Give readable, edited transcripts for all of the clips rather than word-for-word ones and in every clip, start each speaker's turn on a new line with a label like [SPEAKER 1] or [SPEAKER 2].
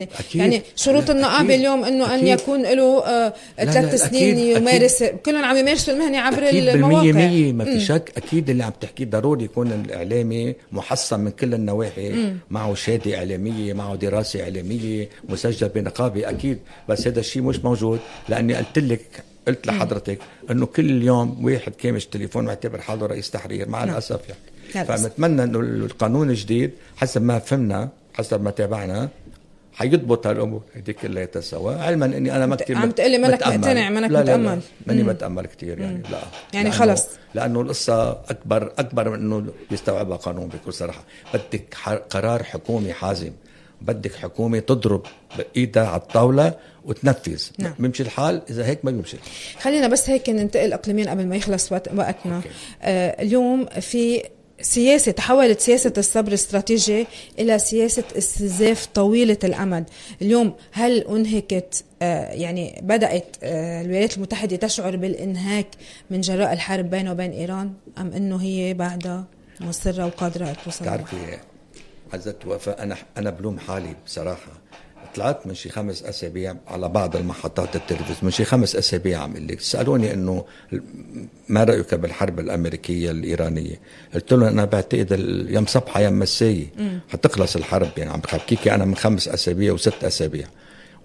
[SPEAKER 1] أكيد.
[SPEAKER 2] يعني شروط النقابة اليوم انه ان يكون له 3 سنين يمارس، كلهم عم يمارسوا المهنة عبر المواقع.
[SPEAKER 1] بالمية ما في شك. اكيد اللي عم تحكيه ضروري يكون الاعلامي محصن من كل النواحي، معه شهادة اعلامية، معه دراسة اعلامية، مسجل بنقابة اكيد. بس هذا الشيء مش موجود، لاني قلت لحضرتك انه كل يوم واحد كامش تليفون معتبر حاله رئيس تحرير مع الاسف يعني. فنتمنى انه القانون الجديد حسب ما فهمنا، حسب ما تابعنا، حيضبط هالامور هذيك كلها سوا. علما اني انا ما كثير
[SPEAKER 2] عم تقلي منك مقتنع، منك متامل.
[SPEAKER 1] ماني بتامل كثير يعني. لا
[SPEAKER 2] يعني خلص،
[SPEAKER 1] لانه القصه اكبر من انه يستوعبها قانون. بكل صراحه بدك قرار حكومي حازم، بدك حكومة تضرب بإيدها على الطاولة وتنفذ.
[SPEAKER 2] نعم.
[SPEAKER 1] بيمشي الحال، إذا هيك ما بيمشي.
[SPEAKER 2] خلينا بس هيك ننتقل أقليميا قبل ما يخلص وقتنا. اليوم في سياسة، تحولت سياسة الصبر الاستراتيجي إلى سياسة استنزاف طويلة الأمد. اليوم هل أنهكت، يعني بدأت الولايات المتحدة تشعر بالإنهاك من جراء الحرب بينه وبين إيران، أم أنه هي بعدها مصرة وقادرة توصل؟
[SPEAKER 1] تعرفي عزت وفاء، أنا بلوم حالي بصراحة. طلعت من شي 5 أسابيع على بعض المحطات التلفزيون، من شي 5 أسابيع عم اللي سألوني إنه ما رأيك بالحرب الأمريكية الإيرانية. قلت لهم أنا بعتقد يوم صبحة يوم مساية حتخلص الحرب. يعني عم بحكيكي أنا من 5 أسابيع و6 أسابيع،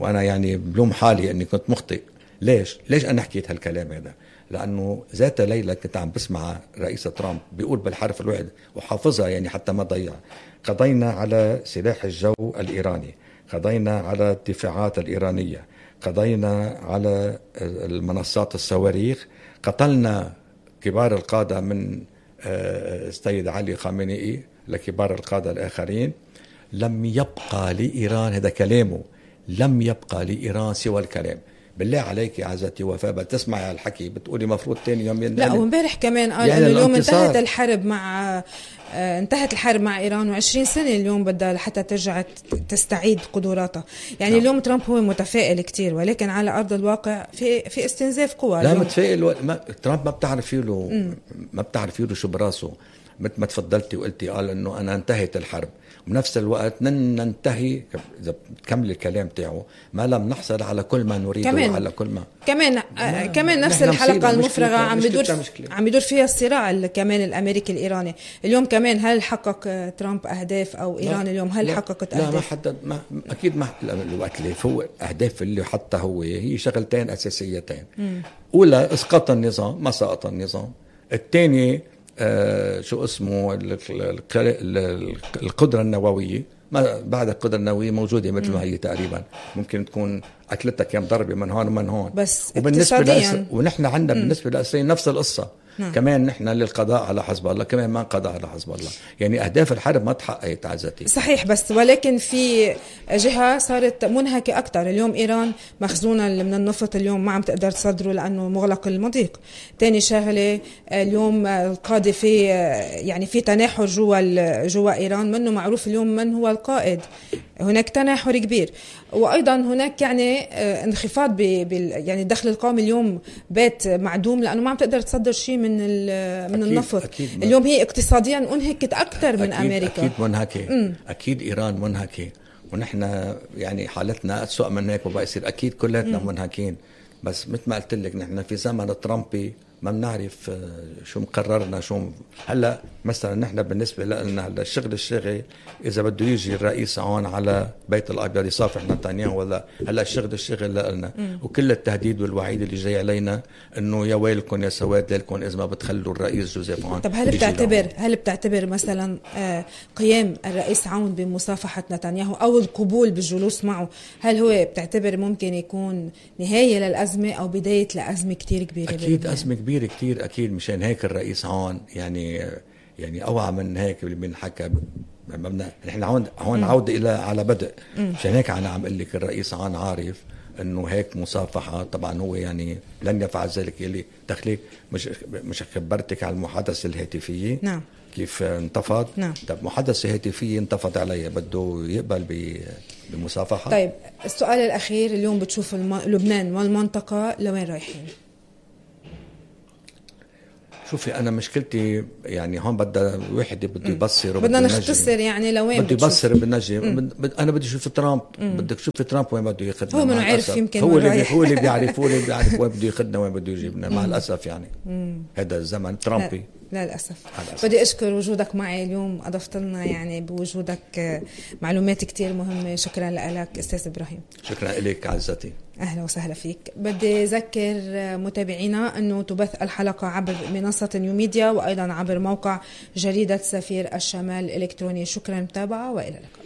[SPEAKER 1] وأنا يعني بلوم حالي إني كنت مخطئ. ليش أنا حكيت هالكلام هذا؟ لأنه ذات ليلة كنت عم بسمع رئيس ترامب بيقول بالحرف الواحد وحافظها يعني حتى ما ضيع: قضينا على سلاح الجو الإيراني، قضينا على الدفاعات الإيرانية، قضينا على المنصات الصواريخ، قتلنا كبار القادة من السيد علي خامنئي لكبار القادة الآخرين. لم يبقى لإيران، هذا كلامه، لم يبقى لإيران سوى الكلام. بالله عليك يا عزتي وفاء بتسمعي على الحكي بتقولي مفروض تاني يوم
[SPEAKER 2] لا، ومبارح كمان قال يعني انه اليوم انتهت الحرب مع إيران، و20 سنة اليوم بدها لحتى ترجع تستعيد قدراتها. يعني اليوم ترامب هو متفائل كتير، ولكن على أرض الواقع في استنزاف قوى.
[SPEAKER 1] لا متفائل ترامب ما بتعرفي له شو براسه. مثل ما تفضلتي وقلتي، قال انه انا انتهت الحرب، وبنفس الوقت ننتهي، اذا بتكمل الكلام تاعه، ما لم نحصل على كل ما نريده على كل ما
[SPEAKER 2] كمان نفس الحلقة المفرغة عم يدور فيها الصراع كمان الامريكي الايراني. اليوم كمان هل حقق ترامب اهداف، او ايران اليوم هل حققت اهداف؟
[SPEAKER 1] لا، ما حدد، اكيد ما الوقت اللي فوق اهداف اللي حتى هي شغلتين اساسيتين. اولى اسقاط النظام، ما سقط النظام. الثاني شو اسمه القدرة النووية. ما بعد القدرة النووية موجودة مثل ما هي تقريبا، ممكن تكون أكلتها كم ضربة من هون ومن هون.
[SPEAKER 2] بس
[SPEAKER 1] وبالنسبة ونحن عندنا بالنسبة لإسرائيل نفس القصة. كمان نحن للقضاء على حزب الله، كمان ما قضى على حزب الله. يعني أهداف الحرب ما تحققت عزتي.
[SPEAKER 2] صحيح، بس ولكن في جهة صارت منهكة أكتر. اليوم إيران مخزونة من النفط اليوم ما عم تقدر تصدره لأنه مغلق المضيق. تاني شغلة، اليوم القادة في تناحر جوا إيران، منه معروف اليوم من هو القائد. هناك تناحر كبير، وأيضا هناك يعني انخفاض يعني الدخل القومي اليوم بات معدوم، لأنه ما عم تقدر تصدر شيء من النفط. اليوم هي اقتصاديا انهكت أكثر من أمريكا.
[SPEAKER 1] أكيد منهكة. أكيد إيران منهكة، ونحن يعني حالتنا أسوأ من هيك وبقى يصير. أكيد كلاتنا منهكين. بس مثل ما قلت لك نحن في زمن ترامبي ما بنعرف شو مقررنا. هلا مثلا نحن بالنسبة لنا هلا الشغل إذا بده يجي الرئيس هون على بيت الأبيض يصافح نتنياهو ولا هلا الشغل لنا، وكل التهديد والوعيد اللي جاي علينا إنه يا ويلكم يا سواد لكم إذا ما بتخلوا الرئيس جوزيف عون.
[SPEAKER 2] طب هل بتعتبر مثلا قيام الرئيس عون بمصافحة نتنياهو أو القبول بالجلوس معه، هل هو بتعتبر ممكن يكون نهاية للأزمة أو بداية لأزمة كتير كبيرة؟
[SPEAKER 1] أكيد أزمة كبيرة كتير أكيد. مشان هيك الرئيس عون يعني أوعى من هيك اللي بنحكى. نحن هون عودة على بدء. مشان هيك أنا عم قل لك الرئيس عون عارف إنه هيك مصافحة. طبعا هو يعني لن يفعل ذلك. اللي تخليك مش خبرتك على المحادثة الهاتفية.
[SPEAKER 2] نعم.
[SPEAKER 1] كيف انتفض.
[SPEAKER 2] نعم.
[SPEAKER 1] طب محادثة هاتفية انتفض عليها، بده يقبل بمصافحة.
[SPEAKER 2] طيب السؤال الأخير، اليوم بتشوف لبنان والمنطقة لوين رايحين؟
[SPEAKER 1] شوفي أنا مشكلتي يعني هون بدها واحد بده يبصر
[SPEAKER 2] بدنا نختصر يعني لوين
[SPEAKER 1] بده يبصر بالنجي. أنا بدي أشوف ترامب. بدك تشوفي ترامب وين بده ياخذنا.
[SPEAKER 2] هو منو عارف يمكن
[SPEAKER 1] هو اللي بيعرف وين بده ياخذنا وين بده يجيبنا. مع الأسف يعني هذا الزمن ترامبي.
[SPEAKER 2] لا للأسف. بدي أشكر وجودك معي اليوم، أضفت لنا يعني بوجودك معلومات كتير مهمة. شكرا لك أستاذ إبراهيم.
[SPEAKER 1] شكرا لك عزتي.
[SPEAKER 2] أهلا وسهلا فيك. بدي أذكر متابعينا أنه تبث الحلقة عبر منصة نيو ميديا وأيضا عبر موقع جريدة سفير الشمال الإلكتروني. شكرا متابعة وإلى اللقاء.